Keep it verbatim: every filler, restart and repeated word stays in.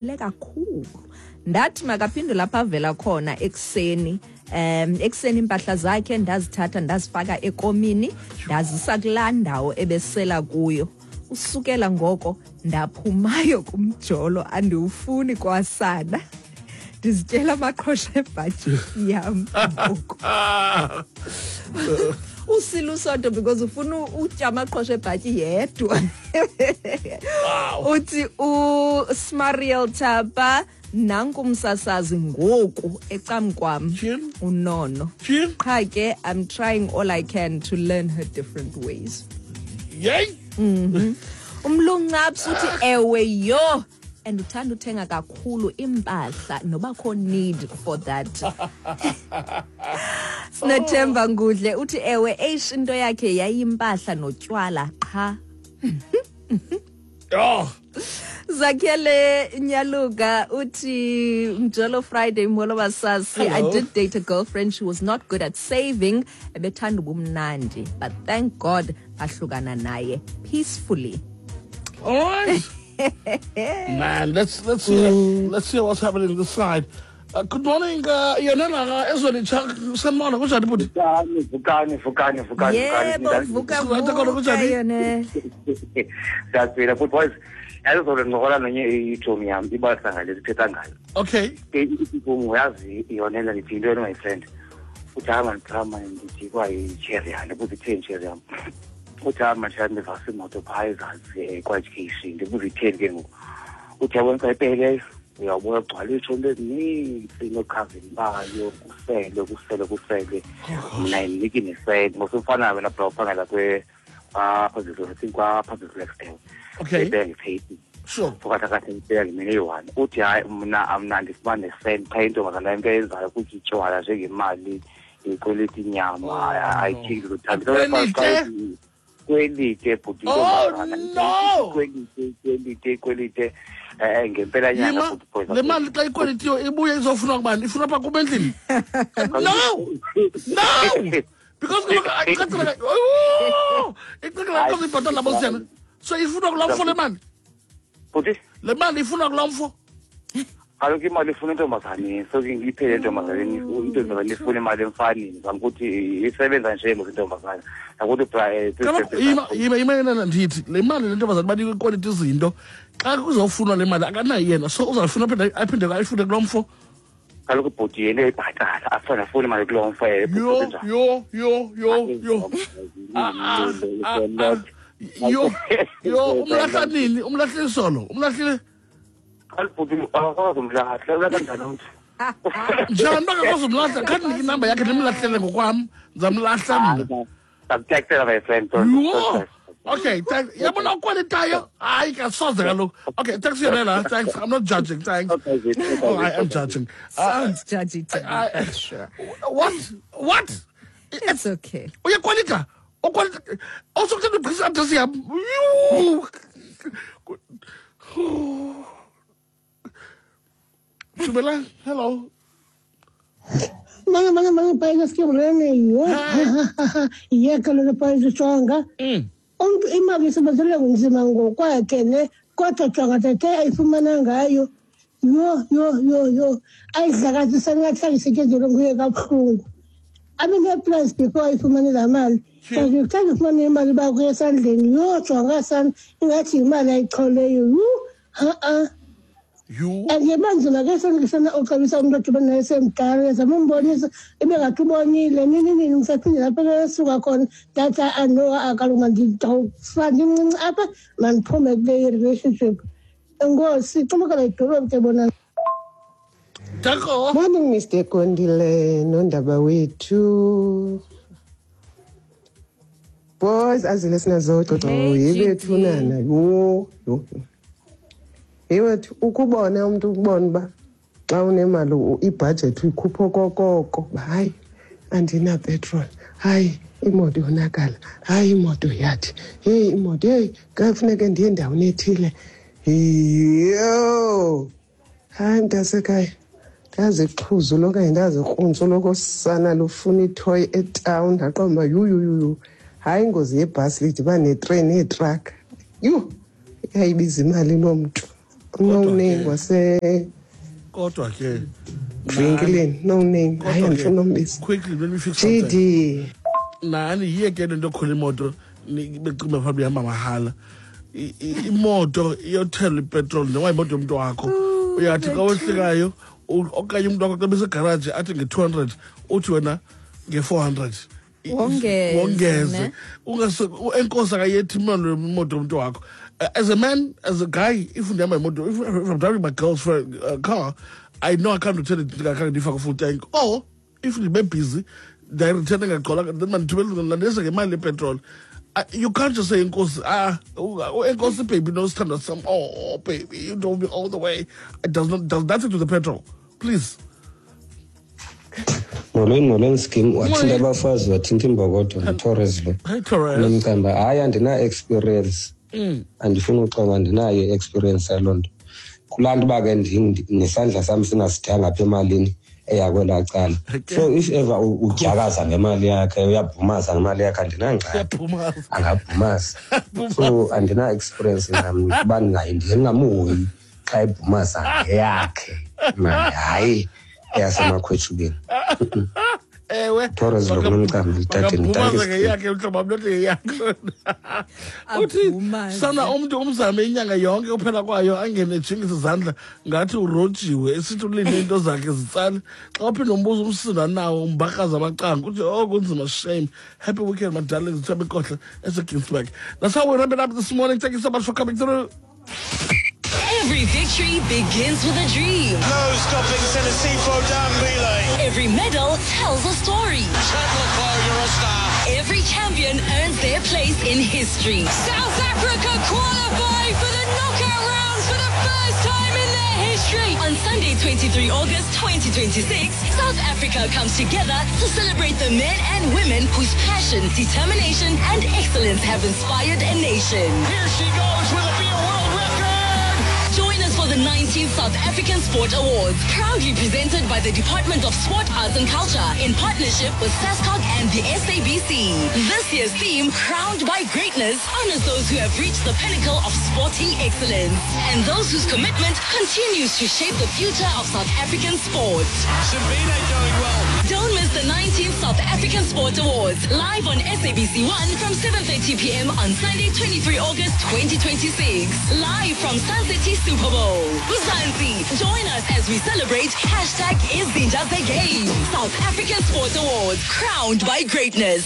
Kakhulu ndathi makaphinde lapha avela khona ekuseni, um ekuseni iimpahla zakhe ndazithatha, ndazifaka ekomini, ndazisa kulaa ndawo ebesela kuyo. Usukela ngoko ndaphumayo kumjolo, andiwufuni kwasana, ndizityela amaqhosha ebhatyi yam ngoku. Usilusonto because ufuna utya amaqhosha ebhatyi yedwa. Uthi uSmariel Thapa, nanku umsasazi ngoku ecamkwam unono. Qha ke I'm trying all I can to learn her different ways. Yey. Mhm umluncaps uthi ewe, yho, and uthanda uthenga kakhulu impahla nobakho need for that. Sinothemba Ngudle uthi ewe, eish, into yakhe yayimpahla notywala qha. Oh. Zakhele Nyaluga uthi Mjolo Friday, molo basasi. I Hello. did date a girlfriend. She was not good at saving, ebethanda ubumnandi, but thank God ahlukana naye peacefully. All right. Man, let's let's see let's see what's happening this side. Uh, good morning, uh, Yonela Ezweni sanibona, kunjani bhuti? Vukani, vukani, vukani, vukani. Yebo, vuka. Sizoletha khona, Vuka. Kunjani? Yona. Siyaphila futhi, boys. Yazi, ncokola nenye itshomi yam, ibalisa ngale sithetha ngayo. Okay. Ke ithi, "Uyazi Yonela," ndithi, "Yintoni, my friend?" Uthi, "Hayi man, cha man," ndithi, "Kwayi-cherry yam." Ndibuza, "Itheni cherry yam?" Uthi, "Hayi man, shame, ndivasa imoto phaa ezantsi um kwa-education." Ndibuza, "Itheni ke ngoku?" Uthi, "Yabona xa ipheleleyo, uyawubona kugcwala iitshomi ezinintsi nookhazini bayo, kuselwe, kuselwe, kuselwe. Mna indiniki nesenti ngosumfana wena bra, uphangela kwa-Public, I think kwa-Public Works." Okay. Ebengiphethi Sure. phakathi kathi ngibheka ngemini eyi-one. Uthi, "Hayi, mna mna ndifumane nesenti qha. Intombazana into eyenzayo kuthi itywala njengemali, ikweleti inyama." Oh, I no. think Ikwelite? Kwelite, bhuti. Oh, Intombazana no. ikwelite, ikwelite, ikwelite um ngempela nyanga. Yima, Bhuti boys. Le mali xa ikwelitiwe ibuye izofunwa kubani? Ifuna apha kum endlini? No! No! Because kaloku icacile, oh! Icacile xa ibhatala labo siyana. So ifunwa kulaa mfo le mali. Bhuti. Le mali ifunwa kulaa mfo. Kaloku imali ifuna intombazaneni, so ke iphele entombazaneni, intombazane ifuna imali emfaneni. Zama ukuthi isebenza nje mos intombazane, nakuthi bra eh, Kaloku yima, yima, yima yena, ndithi le mali le ntombazane banikwe ikweliti izinto, xa kuzofunwa le mali akanayo yena, so uzawufuna aphinde aphinde ayifune kuloo mfo. Kaloku bhuti, yena uyayibhatala, afuna afune imali kuloo mfo eh, Yho, yho, yho, yho, yho. Ah, ah, ah, ah. Yho, yho, umlahla nini? Umlahlile solo? Umlahlile? Kaloku bhuti, akakwazi umlahla, ulahla njani umntu? Njani bangakwazi umlahla? Khanti ndinike inamba yakhe, ndimlahlele ngokwam. Ndizamlahla mna. Ndakutektela, my friend. Yho! Okay, thanks. Yabona ukwelitayo? Hayi, kasoze kaloku. Okay, thanks Yonela. Thanks. I'm not judging. Thanks. Okay, okay. Oh, I am judging. Uh, Sounds judgy to me, I- but sure. What? What? It's okay. Uyakwelita? Ukwelita? Also kuthanda ugqisa address yam. Yhu! Dumelang. Hello. Mga mga mga país que mrene yo. Ye kaloku país jonga. Mm. Umntu imali isebenzele nzima ngokwakhe ne, kodwa jonga tete ayifumana ngayo. Yho, yho, yho, yho. Ayidlakazisa ngathi ayisetyenzelwe nguye kabuhlungu. Abe ne-plans before ayifumane laa mali. Kanti xa ndifumane imali bakho esandleni, yho, jonga sana, ingathi yimali ayicholeyo. Yhu, ha-a. Yhu. And yeba nzima ke sana uxabisa umntu odibene naye semdala, uyazama umbonisa ibe ngathi ubonile nini nini, ngisaphinde lapho esuka khona, ndathi ano kaloku mandidawufa ndincinci apha, mandiphume kule relationship. Enkosi, xumukela idolophu ke bona. Danko. Morning, Mister Kondile nondaba wethu. Boys, azile sinazo Hey, yebethu G D. nana. Yho, yho. Yewethu, ukubona umuntu, ukubona uba xa unemali u- ibhajethi uyikhupha okokoko. Hayi, andina petrol. Hayi, imoto yonakala. Hayi, imoto yathi. Hey, imoto, hey, kufuneke ndiye endaweni ethile. Yho. Hayi, mntasekhaya, ndazixhuzula okanye ndazikruntsa loko sana lufuna ithoyi etawuni, ndaqonda uba yuyuyuyu, hayi, ingozi yebhasi lidibane netreyini neetraka, yhu, yayibiza imali loo mntu. No name wase kodwa ke venkileni no name. Hayi andifuna umbiza. Quickly let me fix something. G D. Nani yiye ke lento yokhwela imoto becima phambi ihamba mahala. Imoto iyothelwa ipetroli njengoba imoto yomntu wakho. Uyathi xa wehlikayo okanye umntu wakho xa besegaraji athi nge-two hundred uthi wena nge-four hundred. Wongeze. Enkosi akayethi imali imoto yomntu wakho. As a man, as a guy, if ndihamba imoto, if I'm driving my girl's uh, car, I know I can't return it ndifake full tank. Or if ndibe busy, ndiyayireturn ngagcola then mandithumele landise ngemali yepetroli. You can't just say enkosi, ah, enkosi baby, no standard some. Oh baby, you drove me all the way. It does not does nothing to the petrol. Please. Molweni, molweni skim, wathinta abafazi, wathinta imbokodo, nguTorres lo. Hey Torres. Nomcamba, hayi andina experience. Mm. Andifuni uxoka, andinayo experience yaloo nto. Kulaa nto uba ke nesandla sam singasithanga apha emalini eya kwelaa cala. So if ever udyakaza ngemali yakhe, uyabhumaza ngemali yakhe, andinangxaki. Angabhumaza. So andina-experience nam uba ndingamhoyi xa ebhumaza ngeyakhe imali, hayi eyasemakhwetshubeni. Ewe. Torres lo kunomcambi tateni mntaka ngeyakhe mhlobo wam not ngeyakho. Uthi sana umntu umzame inyanga yonke uphela kwayo angene ejingisa izandla ngathi urojiwe esithi ulinde into zakhe zitsale. Xa uphinda umbuzo umsindo nawo umbakaza amacango uthi oh kunzima shame. Happy weekend my darlings. Thabo Nkohla eseGinsberg. That's how we wrap it up this morning. Thank you so much for coming through. Every victory begins with a dream. No stopping Senosifo Dambile. Every medal tells a story. Chandler Clough, you're a star. Every champion earns their place in history. South Africa qualify for the knockout rounds for the first time in their history. On Sunday, twenty-third of August twenty twenty-six, South Africa comes together to celebrate the men and women whose passion, determination, and excellence have inspired a nation. Here she goes. Will it be a world record? Join us for the nineteenth South African Sport Awards, proudly presented by the Department of Sport, Arts and Culture in partnership with SASCOC and the S A B C. This year's theme, Crowned by Greatness, honors those who have reached the pinnacle of sporting excellence and those whose commitment continues to shape the future of South African sport. Simbine doing well. Don't miss the nineteenth South African Sport Awards, live on S A B C One from seven thirty p m on Sunday, twenty-third of August twenty twenty-six. Live from Sun City Super Bowl. Mzansi, join us as we celebrate hashtag Izinja the Game. South African Sport Awards, crowned by greatness.